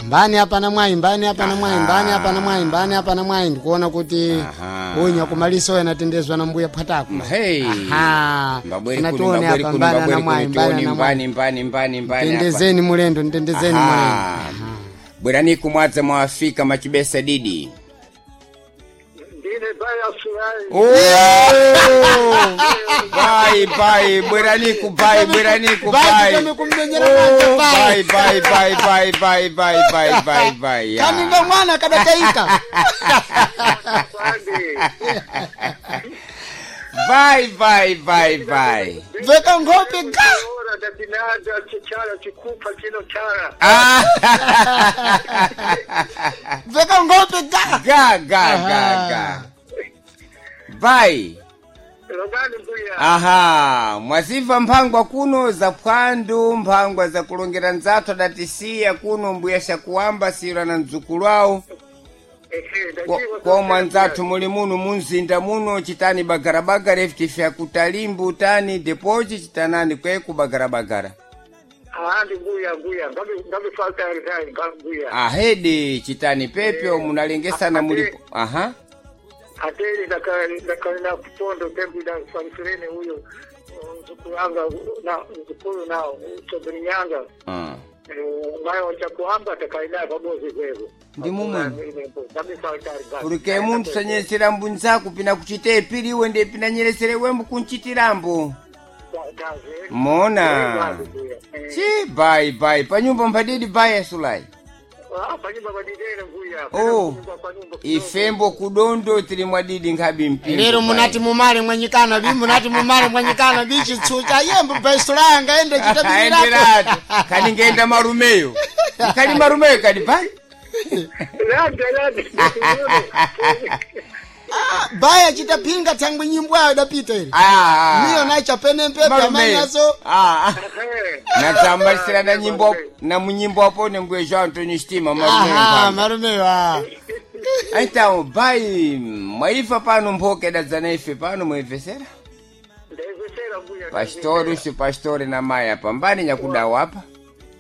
Mbani apa na mwayi, mbani apa na mwayi, mbani apa na mwayi, mbani apa na mwayi, ndikuona kuti unya kumaliso yanatendezwa na mbuya phatako. Hey. Aha. Mbabweri kuno, Tunatione mbabweri apa kuno, mbani ana mbabweri mwayi, kuno, mbani tioni ana mwayi. mbani mbani mbani mbani apa. Tendezeni mulendo, ntendezeni mulendo. Aha. Bwerani kumwadza mwafika machibesa didi. Ndine baya sulai. Oh! Bai bai bweraniku bai bweraniku Bai, bai. tutame kummenyera manja, bai. Bai bai bai bai bai bai bai bai bai. ya. Kaninga mwana kadataika. Pande. Bai bai bai bai. Veka ngope ga. Ora dadinaza chichala chikupa chino chara. Ah! Veka ngope ga. Ga ga ga ga. Bai. Logani mbuya. Aha, mwaziva mphangwa kuno za phwandu, mphangwa za kulongera nzathu adatisiya kuno mbuya shakuwamba sira na mdzukulu awo. Ehe, ndachiwa Kwa mwanzathu muli muno munzinda muno chitani bagarabagara ifutife akutalimbu tani depochi chitanani kweku bagarabagara. Ahandi mbuya mbuya. Ngabi ngabi falta rizai mbuya. Ahedi chitani pepyo munalengesana mulipo. Aha. Ateri ndakalina kupondo tembu da farifirene huyo mzukuru anga na mzukuru nao Sobrinyanga. Mayo wachakuhamba atakaida pabozi kwevo. Ndi mumwe. Ngabi falta rizai. Kulike munthu sanyesera mbunzaku pina kuchita ipili iwe ndiye pina nyeresere wembu kunchitirambo. Mona. Chi bai bai panyumba mphadidi bai asulai. Panyumba padidere mbuya. Oh. Ifembo kudondo tili mwadidi nkhabi mpingo. Lero bai. munati mumale mwanyikana bi munati mumale mwanyikana bi chitsucha yembo baisula ende chitabirirapo. Aenderatu. Kani ngenda marumeyo. Kani marumeyo kani bai. Landa landa. Ah, baya chitapinga thangwi nyimbo ayo dapita ile. Ah. Niyo nacha pene mpepe Marumeyo. amanyaso. Ah. Natsambalisira na nyimbo na munyimbo apo nembwe João Antonio Stima marumeyo. Aha, Mphambi. marumeyo ah. Então, bai mwaifa pano mphoke dadzana ife pano muimvesera. Ndaizesera mbuya. Pastori usu pastori na mai apa mbani nyakudawa apa.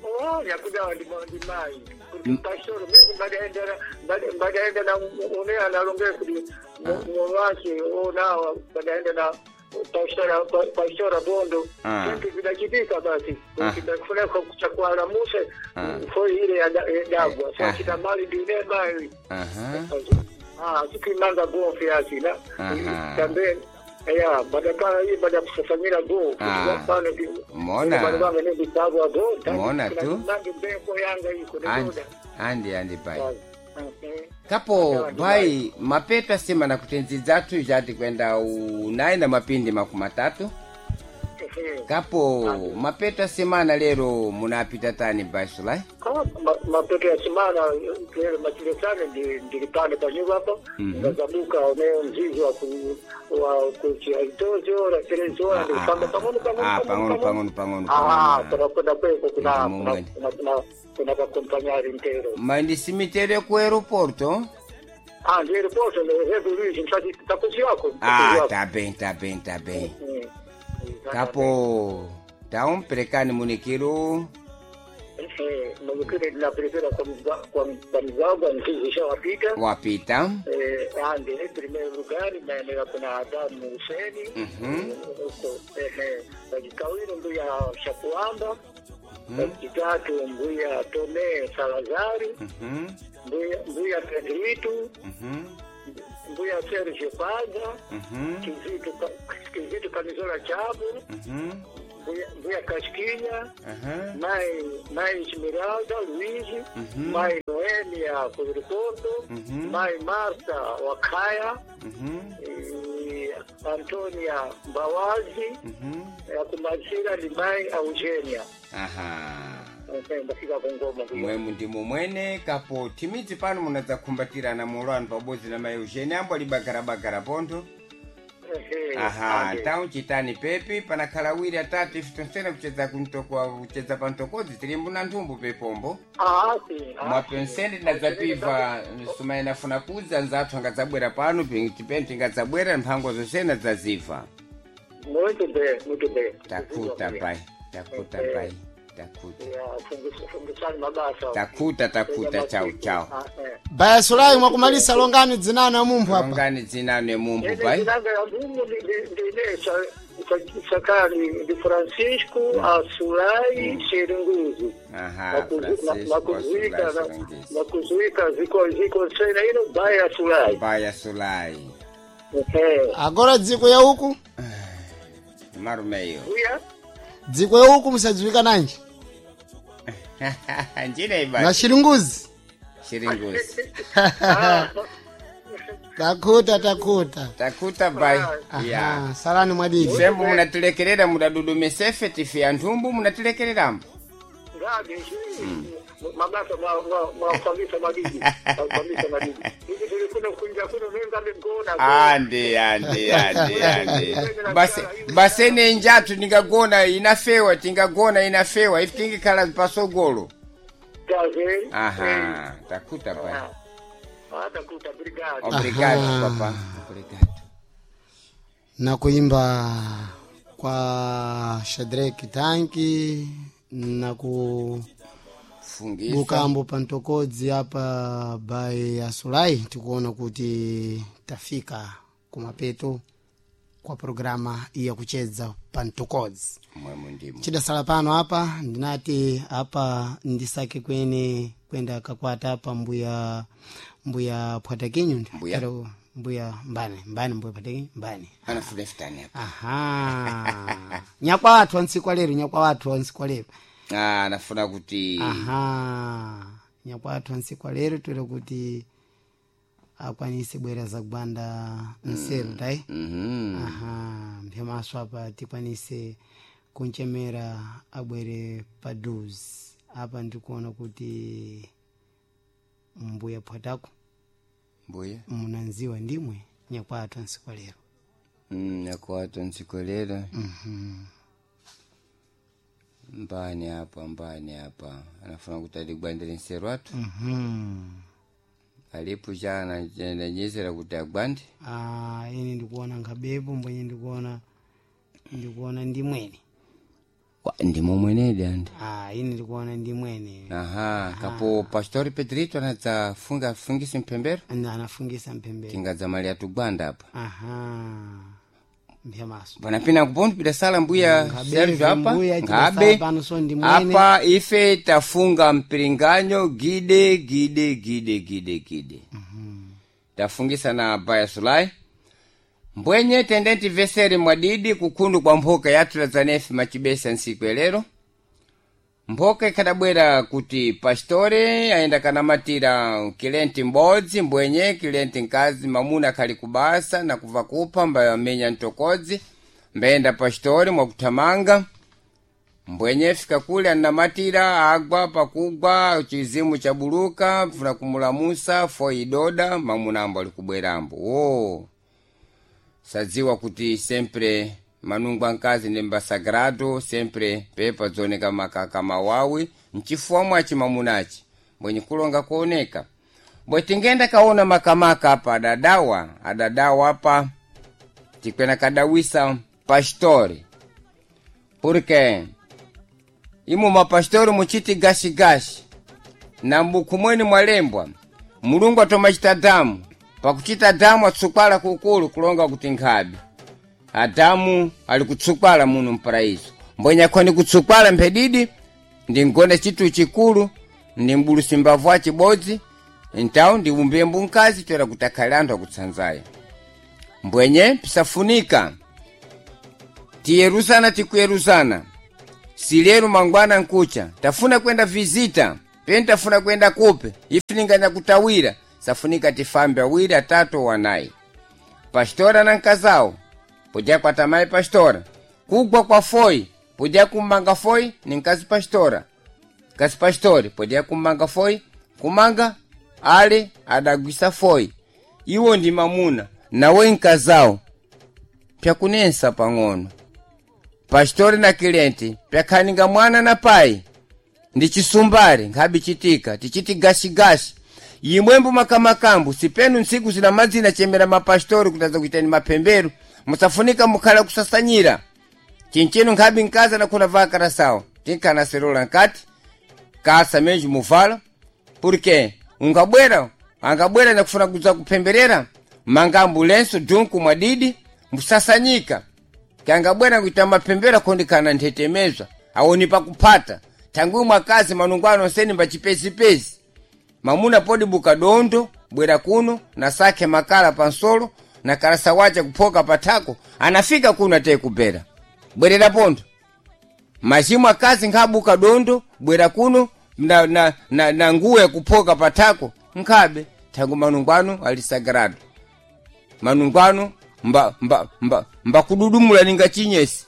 Oh, nyakudawa ndi ndi mai. Kuti pastori mimi mbadaenda mbadaenda na une analongea kuti mwake onawa mbadaenda na pastora pastora bondo. Kitu vinachitika basi. Kuti kuchakwala muse fo ile ya dagwa. So kita mali ndine mai. Aha. Ah, sikimanga gofi yasi na tambe ya badakala hii baada ya kusafanyira go pano Mona. go Mona tu. nangi mbeko yanga iko Andi andi andi bai. Kapo bai mapeto asema na kutenzi dzathu jati kwenda unayi na mapindi makumi atatu. Kapo mapeto asemana lero munapita tani bai sulai. Mapeto ya simana lero machilesane ndilipande panyumba hapo ngazabuka oneo mzizi wa ku wa kuchiaitozo ora telezora ndilipanda pang'ono Ah, pang'ono pang'ono pang'ono pang'ono Ah, pang'ono. kuna kweko kuna Ndi mumwe. kuna kuna kuna kakompanyari ntero. Mandisimitere ku aeroporto. Ah, ndi aeroporto ne revolution chati takuziwako. Ah, tá bem, tá bem, tá bem. Kapo taumperekani munikiro. Mwenyekiti napelekera kwa kwa kwa mzagwa mzizi shawapita. Wapita. Ande primeiro lugar naendelea kuna Adamu Huseni. Huko wajikawili mbuya Shakuamba. Wajitatu mbuya Tome Salazari. Mbuya mbuya Pedrito. Mbuya Sergio Paza. Kizito Kizito Kamizola Chabu. Mbuya mbuya Kasquinya. Mai Mai Esmeralda Luiz, Mai Noêmia Porto, Mai Marta Wakaya, e Antônia Bawazi, akumalizira ni Mai Eugênia. Aha. Ndafika kungoma kuyo. Mwemu ndimo mwene kapo timidzi pano munadzakhumbatirana mulo pabodzi na mai Eugenia ambo ali bagarabagara pontho. Ehe, Aha, ande. tauchitani pepi panakhala awiri atatu ife tonsena kuchedza kuntoko kuchedza pantokodzi tilimbu na nthumbu pepombo. Ah, sim, ah, Mwapensene tinadzapiva sumaina funa kudza nzathu angadzabwera pano tipeni tingadzabwera mphango zonsena dzaziva. Muito bem, muito bem. Takuta pai, takuta pai, Takuta. Ya, fungisani mabasa. Takuta takuta chau chau. Baya Sulai mwakumalisa longani dzinano ya mumphu apa. Longani dzinano ya mumphu Ine bai. dzinanga ya mumphu ndine sakali ndi Francisco Asulai Chiringuzi. Aha, Francisco Asulai Chiringuzi. Makuzuika ziko ziko sena ino baya Sulai. Baya Sulai. Eh. Agora dziko ya uku? Marumeyo. Uya? Dziko ya uku musadziwika nanji. Njine iba. Na Chiringuzi. Chiringuzi. Takuta takuta. Takuta bai. Ya. Aha, salani mwadidi. Sembu munatilekerera mudadudumisefe tife anthumbu munatilekererambo. Ngabe mabasa mwafambisa madidi. Mwafambisa madidi. Hivi tulikuwa kuingia kuno nenga ngona. Ande ande ande ande. Base basene njatu ningagona inafewa tingagona inafewa ife tingikhala pasogolo. Gaze. Aha, takuta bai. Ah, takuta obrigado. Obrigado Aha. papa. Obrigado. Na kuimba kwa Shadrack Tanki na ku Fungisa. bukambo pantokodzi apa by Asulai tikuona kuti tafika kumapeto kwa programa iya kuchedza pantokodzi. Mwemu ndimo. Chidasala pano apa ndinati apa ndisake kwene kwenda kakwata apa mbuya mbuya Pwatakinyu Mbuya? Pero mbuya mbane mbane mbuya Pwatakinyu mbane Anafuna futani apa. aha nyakwa wathu antsiku lero nyakwa wathu antsiku lero Ah, anafuna kuti aha nyakwa wathu antsiku lero twere kuti akwanise bwera zakubanda nseru tai Mhm. aha mphemaso apa tikwanise kunchemera abwere paduzi apa ndikuona kuti mbuya phwatako Mbuya. munanziwa ndimwe nyakwathu ansiku lero Nyakwathu ntsikolera. Mbani apa mbani apa anafuna kuti aligwandire nseru athu. Alipo chana nanyezera kuti agwande. Ah, ine ndikuona nkhabepo mbwenye ndikuona ndikuona ndimwene Ndimo mwenedi andi. ah, ine ndikuona ndimwene Aha, kapo Pastor Pedrito anadza funga fungisa mphembero. Anafungisa mphembero Tingadza mali atugwanda apa. aha mphemaso Panapina kupondo pidasala mbuya Ngabe, Sergio apa. mbuya, chidasala Ngabe. pano so ndi mwene. Apa ife tafunga mpiringanyo gide gide gide gide gide. Tafungisa na Baya Sulai. Mbwenye tendenti veseri mwadidi kukhundu kwa mphoka yathu la zanefi machibesa nsiku elero. Mphoka ikhadabwera kuti pastore ayenda kanamatira kilenti m'bodzi mbwenye kilenti mkazi mamuna akhali kubasa na kuva kupha mbayamenya mtokodzi mbayenda pastore mwakuthamanga mbwenye fika kule anamatira agwa pakugwa chizimu chabuluka pfuna kumulamusa fo idoda mamuna ambo ali kubwerambo wo sadziwa kuti sempre manungu ankazi ndi mbasagrado sempre pepa dzoneka makaka mawawi mchifuwa mwachi mamunachi mbwenye kulonga kuoneka bwe tingenda kaona makamaka apa adadawa adadawa apa tikwena kadawisa pastori porque imo mapastori muchiti gashigashi na mbuku mweni mwalembwa mulungu atomachita damu pakuchita damu atsukwala kukulu kulonga kuti nkhabe adamu ali kutsukwala muno mparaiso mbwenye akhoni kutsukwala mphedidi ndingone chitu chikulu ndi mbulusi mbavu achibodzi ntawu ndiwumbiye mbunkazi toera kuti akhale anthu akutsanzayo mbwenye pisafunika tiyeruzana tikuyeruzana silero mangwana nkucha tafuna kwenda vizita peni tafuna kwenda kupe ifininganya kutawira safunika tifambe awiri atatu wanayi pastora na nkazawo podya kwatamayi pastora kugwa kwa foi podya kumanga foi ni nkazi pastora nkazi pastori podya kumanga foi kumanga ale adagwisa foi iwo ndi mamuna nawe nkazawo pyakunensa pang'ono pastori na kilenti pyakhaninga mwana na pai ndi chisumbali nkhabi chitika tichiti gashigashi imwembo makamakambu sipenu ntsiku zina madzina chemera mapastori kutaza kuitani mapemberu musafunika mukhala kusasanyira chinchino nkhabi nkaza nakhuna vakarasawa Tinkana serola nkati kasa menji muvala porque ungabwera angabwera nakufuna kuza kupemberera mangambu lenso dunku mwadidi musasanyika kangabwera kuita mapembera kondikana nthetemezwa awoni pakupata tangu mwakazi manungwano seni mbachipezipezi mamuna podi buka dondo bwera kuno na sake makala pansolo na kalasa wacha kuphoka pathako anafika kuno ateye kubera bwerera pondo mazimu akazi nkhabuka dondo bwera kuno na nguwo yakuphoka pathako nkhabe thangu manungwano ali sagrado manungwano mbakududumula ninga chinyesi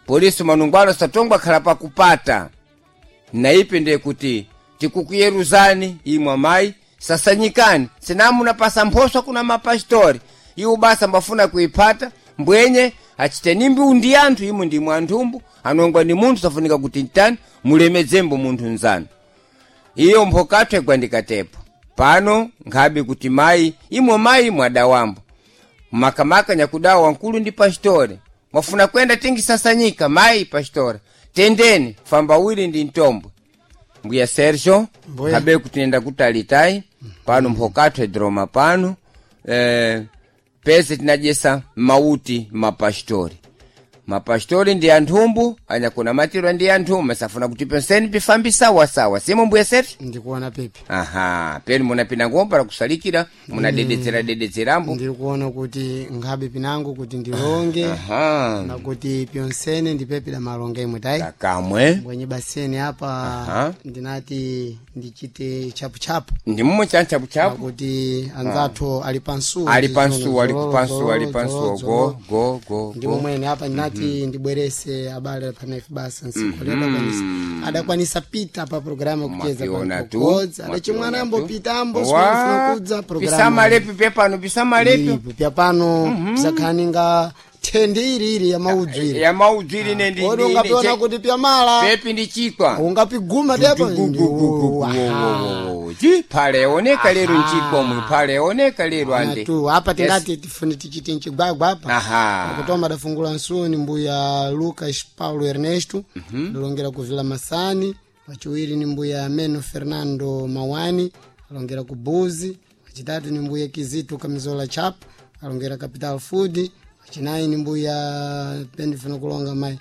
polisi manungwano satongwa khala pakupata naipe ndiye kuti tikukuyeruzani imwe amayi sasanyikani sinamunapasa mphoswa kuna mapasitori iwo basa mbafuna kuiphata mbwenye achite nimbi undi anthu imwe ndimwe anthumbu anongwa ni munthu safunika kuti ntani mulemedzembo munthu nzanu iyo mphokatho igwandikatepo pano nkhabe kuti mayi imwe mayi mwadawambo makamaka nyakudawa wankulu ndi pasitore mwafuna kwenda tingisasanyika mayi pasitore tendeni famba wili ndi mtombwe mbuya Sergio Mbuya. habe kutinenda kutalitai pano mphokatho edroma pano pese tinajesa mauti mapastori mapastori ndi anthumbu anyakuna matirwa ndi anthumbu masafuna kuti penseni pifambi sawasawa simo mbuya Sergio Ndikuona pepe. aha peni munapinda ngomba kusalikira munadedetsera dedetserambo Ndikuona kuti nkhabe pinango kuti ndilonge aha na kuti pyonsene ndipepe da malonge imwe tayi. kakamwe Mbwenye baseni apa Aha. ndinati ndichite chapuchapu. ndi mumwe chanchapuchapu Kuti anzathu ali pansuwa. ali pansuwa ali Zololo, kupansuwa ali zololo, pansuwa zololo. go go go ndi go momwene apa ndinati ndibwerese abale panaife basa nsikolera kwanisa adakwanisa pita pa programu kucheza Mwapiona tu, pakodzi adachimwana mwapiona ambo tu. pita ambo Wa, sikunafuna kudza programu pisamalepi pyapano pisamalepi pya pano pisakhaninga thende iri iri ya maudzwiri ya maudzwiri ne ndi kodi ungapiona kuti pyamala pepi ndi chikwa ungapiguma tepo ji phale yaoneka lero nchikwa mwe phale yaoneka lero ande tu apa tingati tifune tichite mchigwagwa apa aha kutoma adafungula nsuni mbuya Lucas Paulo Ernesto alongera ku Vila Masani wachiwiri ni mbuya Meno Fernando Mawani alongera ku Buzi wachitatu ni mbuya Kizito Kamizola Chap alongera Capital Food wachinayi ni mbuya pendifuna kulonga mai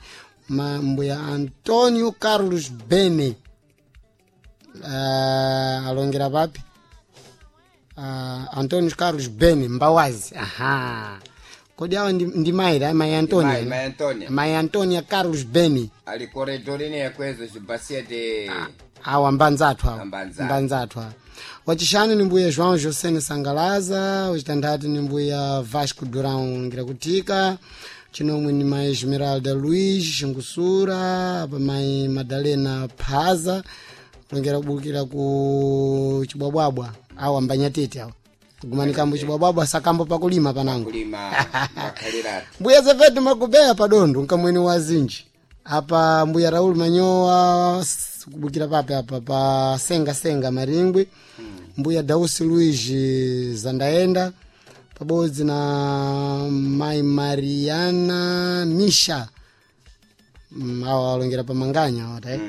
ma, mbuya Antonio Carlos Bene alongera papi Antonio Carlos Bene Mbawazi aha kodi awa ndi mayi la mayi Antonia Mai, Mai Antonia. mayi Antonia Carlos Bene ali corredorine yakwezo cibasia de awa mbanzathu awa Mbanzathu. mbanzathu awa wachishanu ni mbuya João Josene Sangalaza wachitanthatu ni mbuya Vasco Durão ngira kutika chinomwe ni mayi Esmeralda Luiz Xingusura apa mayi Madalena Phaza kulongera kubukira ku chibwabwabwa awa mbanyatete awa kugumanika chibwabwabwa sakambo pakulima panango kulima makhaliratu mbuya zefetu makubeya padondo nkamweni wa zinji apa mbuya raul manyowa kubukira pape apa pa senga senga maringwi mbuya dausi luigi zandaenda pabodzi na mai mariana misha awa alongera pamanganya awa tai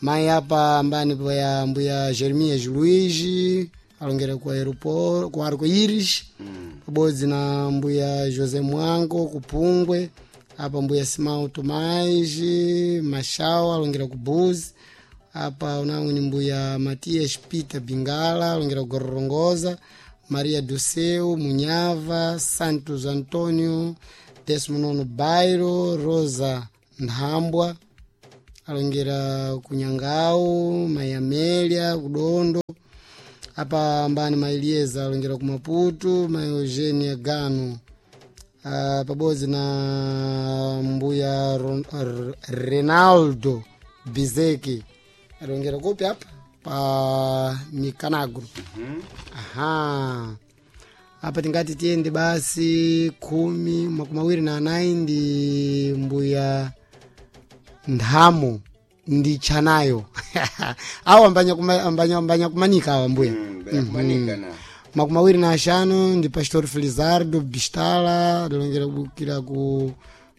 mai apa ambani poya mbuya jeremias luigi alongera ku aeroport ku arco iris pabodzi na mbuya josé mwango kupungwe apa mbuya simão tomás machau alongera ku buzi apa unamwe ni mbuya matias peter bingala alongera ku gorongoza maria do munyava santos antonio 19 bairo rosa nthambwa alongera kunyangau mayamelia kudondo apa ambani maelieza alongera ku maputo ma eugenia gano pabodzi na mbuya renaldo bizeki alongera kupi apa pa mikanagro aha apa tingati tiyende basi 24 ndi mbuya nthamo ndi chanayo awa ambanya, kuma, ambanya, ambanya kumanika awa mbuya kumanika na 25 ndi pastor felizardo bistala adalongera kubukira ku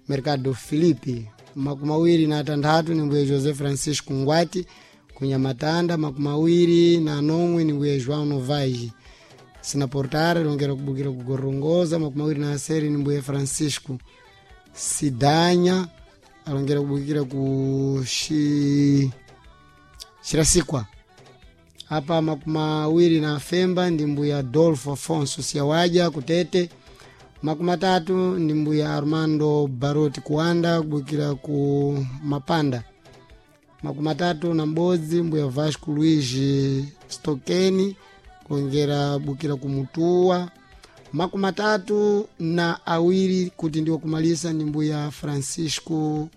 mercado filipe 23 ni mbuye José Francisco Ngwati kunyamatanda. 27 ni mbuye João Novais Sinaportare longera kubukira kugorongoza. 26 ni mbuye Francisco Sidanya alongera kubukira ku Shirasikwa. Apa 25 ndi mbuya Adolfo Afonso Siawaja kutete. 30 ndi mbuya Armando Baroti Kuanda kubukira ku Mapanda. 31 mbuya Vasco Luigi Stokeni kuongera bukira kumutua. 32 kuti ndiwo kumalisa ndi mbuya Francisco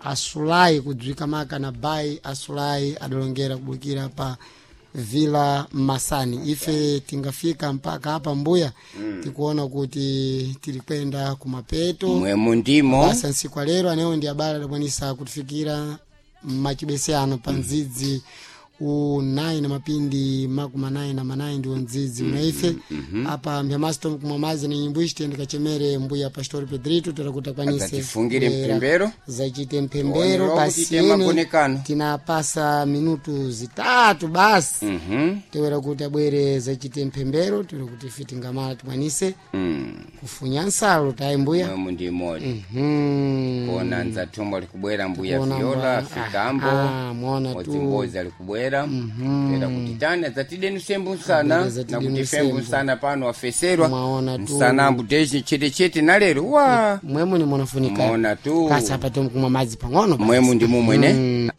Asulai kudzwika maka na bai Asulai adalongera kubukira pa Vila Masani. Ife tingafika mpaka hapa mbuya, tikuona kuti tilikwenda kumapeto Mwemu ndimo. Basa nsiku lero anewo ndi abale adakwanisa kutifikira machibese ano pa ndzidzi u 9 na mapindi 98 ndiwo ndzidzi unaife apa mbyamaso kumwa mazi ni nyimbo ichi tiyende kachemere mbuya Pastor Pedrito toda kuti akwanise Adzatifungira kubwera mpembero. zachite Tionera mpembero kuti basi tema ene makonekano. tinapasa minutu 3 basi tewera kuti abwere zachite mpembero tewera kuti ife tingamala tikwanise kufunya nsalo tayi mbuya. Mwemu ndimodi. Kuona nzathombo alikubwera mbuya Kuona Viola Fikambo. Ah, muona tu. Mbodzimbozi alikubwera era kuti tani adzatideni sembu nsana Abwere adzatideni nakuti fembu sembu. nsana pano afeserwa Mwaona tu. nsanambu techi chetechete nalero wa Mwemu ni munafunika Mwaona tu. kasi apa tomkumwa madzi pang'ono basi. Mwemu ndi mumwene.